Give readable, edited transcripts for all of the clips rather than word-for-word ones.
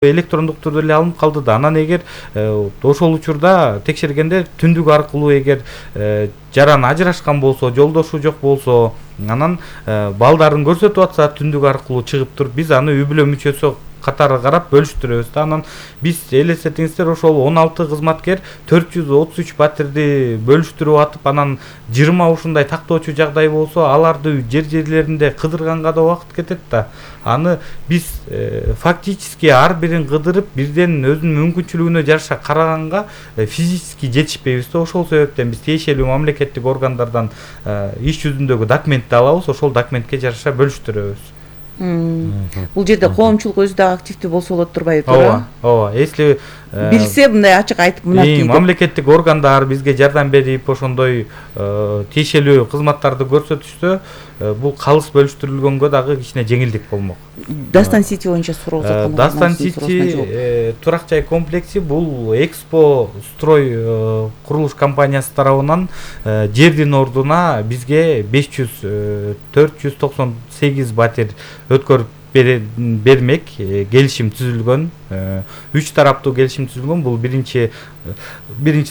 электрондук түрдө эле алынып калды да. Анан эгер ошол учурда текшергенде түндүк аркылуу эгер жаран ажырашкан болсо, жолдошу жок болсо, анан балдарын көрсөтүп атса түндүк аркылуу чыгып туруп, биз аны үй бүлө мүчөсү катары карап бөлүштүрөбүз да. Анан биз элестетиңиздер, ошол 16 кызматкер 433 батирди бөлүштүрүп атып, анан 20 ушундай тактоочу жагдай болсо, аларды жерлеринде кыдырганга да убакыт кетет да. Аны биз фактически ар бирин кыдырып, бирден өзүнүн мүмкүнчүлүгүнө жараша караганга физически жетишпейбиз да. Ошол себептен биз тиешелүү мамлекеттик органдардан иш жүзүндөгү документти алабыз, ошол документке жараша бөлүштүрөбүз. Бул жерде коомчулук өзү да активдүү болсо болот турбайбы? Ооба. Если билсе мындай ачык айтып мынакей мамлекеттик органдар бизге жардам берип, ошондой тиешелүү кызматтарды көрсөтүшсө, бул калыс бөлүштүрүлгөнгө дагы кичине жеңилдик болмок. Дастан Сити боюнча суроо узаткан. Дастан Сити турак жай комплекси бул Экспо Строй курулуш компаниясы тарабынан жердин ордуна бизге 498 батир өткөрүп бермек келишим түзүлгөн. 3 тараптуу келишим түзүлгөн. Бул биринчи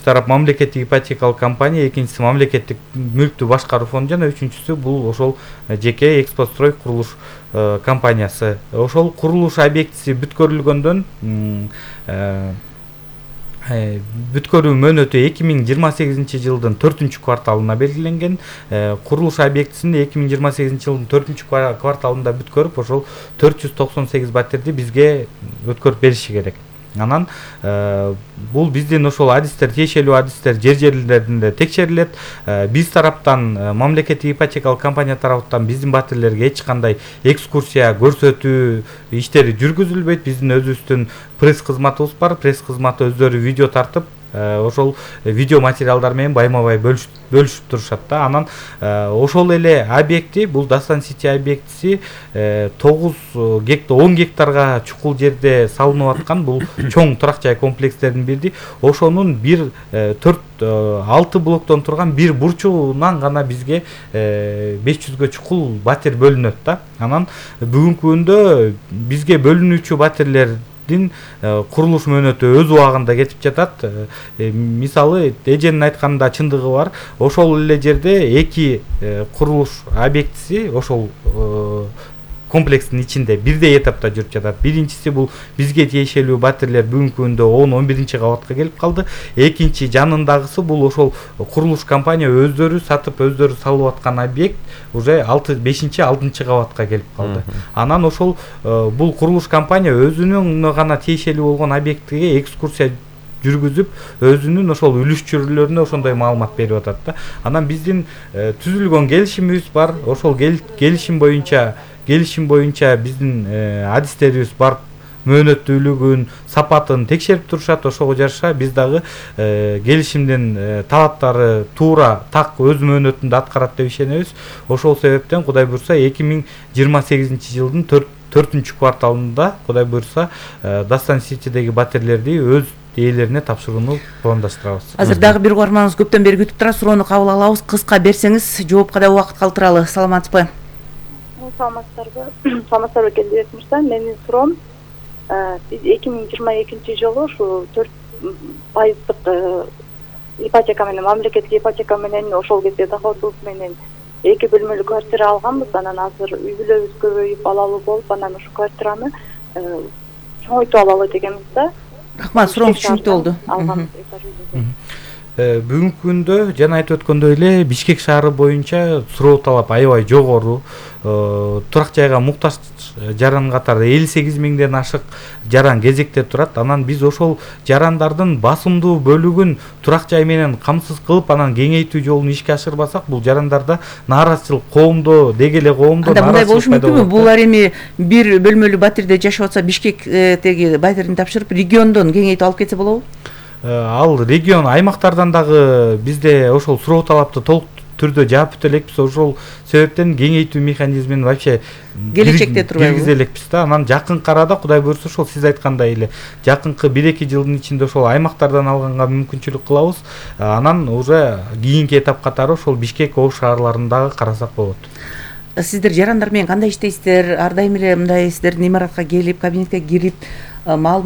тарап мамлекеттик ипотекалык компания, экинчиси мамлекеттик мүлктү башкаруу фонду жана үчүнчүсү бул ошол жеке Экспострой курулуш компаниясы. Ошол курулуш объектиси бүткөрүлгөндөн бүткөрүү мөөнөтү 2028 жылдын 4-кварталына белгиленген. Курулуш объектисин 2028 жылдын 4-кварталында бүткөрүп, ошол 498 батирди бизге өткөрүп бериши керек. Анан бул биздин ошол адистер, тиешелүү адистер жерлеринде текшерилет. Биз тараптан, мамлекеттик ипотекалык компания тараптан биздин батирлерге эч кандай экскурсия, көрсөтүү иштери жүргүзүлбөйт. Биздин өзүбүздүн пресс кызматыбыз бар. Пресс кызматы өздөрү видео тартып, ошол видео материалдар менен байма-бай бөлүшүп турушат да. Анан ошол эле объекти, бул Дастан Сити объектиси 10 гектарга чукул жерде салынып аткан бул чоң турак жай комплекстердин бири. Ошонун 6 блоктон турган бир бурчугунан гана бизге 500гө чукул батир бөлүнөт да. Анан бүгүнкү күндө бизге бөлүнүүчү батирлер курулуш мөөнөтү өз убагында кетип жатат. Мисалы, эженин айтканында чындыгы бар. Ошол эле жерде 2 курулуш объектиси ошол комплекстин ичинде бирдей этапта жүрүп жатат. Биринчиси бул бизге тиешелүү батирлер бүгүнкү күндө 10-11-кабатка келип калды. Экинчи жанындагысы бул ошол курулуш компания өздөрү сатып, өздөрү салып аткан объект уже 5-6-кабатка келип калды. Анан ошол бул курулуш компания өзүнүн гана тиешелүү болгон объектиге экскурсия жүргүзүп, өзүнүн ошол үлүшчүлөрүнө ошондой маалымат берип атат да. Анан биздин түзүлгөн келишимибиз бар. Ошол келишим боюнча биздин адистерибиз барып мөөнөттүүлүгүн, сапатын текшерип турушат. Ошого жараша биз дагы келишимдин талаптары туура так өз мөөнөтүндө аткарат деп ишенебиз. Ошол себептен Кудай буйрса 2028 жылдын 4-кварталында Кудай буйрса Дастан Ситидеги батирлерди өз ээлерине тапшырууну пландаштырабыз. Азыр дагы бир угарманыбыз көптөн бери күтүп турат. Суроону кабыл алабыз. Кыска берсеңиз, жоопко да убакыт калтыралы. Саламатсызбы? Саламатсызбы Келдибек мырза. Менин суроом, биз 2022 жылы ушу 4% ипотека менен, мамлекеттик ипотека менен, ошол кезде доходубуз менен 2 бөлмөлүү квартира алганбыз. Анан азыр үй бүлөбүз көбөйүп, балалуу болуп, анан ушу квартираны чоңойтуп алалы дегенбиз да. Рахмат, сурооңуз түшүнүктүү болду. Бүгүнкү күндө жана айтып өткөндөй эле Бишкек шаары боюнча суроо талап аябай жогору. Турак жайга муктаж жаран катары 58 миңден ашык жаран кезекте турат. Анан биз ошол жарандардын басымдуу бөлүгүн турак жай менен камсыз кылып, анан кеңейтүү жолун ишке ашырбасак, бул жарандарда нааразычылык коомдо, деги эле коомдо мындай болушу мүмкүнбү? Булар эми бир бөлмөлүү батирде жашап атса, Бишкектеги батирин тапшырып, региондон кеңейтип алып кетсе болобу? Ал регион аймактардан дагы бизде ошол суроо талапты толук түрдө жаап бүтө элекпиз. Ошол себептен кеңейтүү механизмин вообще келечекте турбайбы? Киргизе элекпиз да. Анан жакынкы арада Кудай буйрса ошол сиз айткандай эле жакынкы 1-2 жылдын ичинде ошол аймактардан алганга мүмкүнчүлүк кылабыз. Анан уже кийинки этап катары ошол Бишкек оо шаарларын дагы карасак болот. сиздер жарандар менен кандай иштейсиздер? Ар дайым эле мындай сиздердин имаратка келип, кабинетке кирип маалымат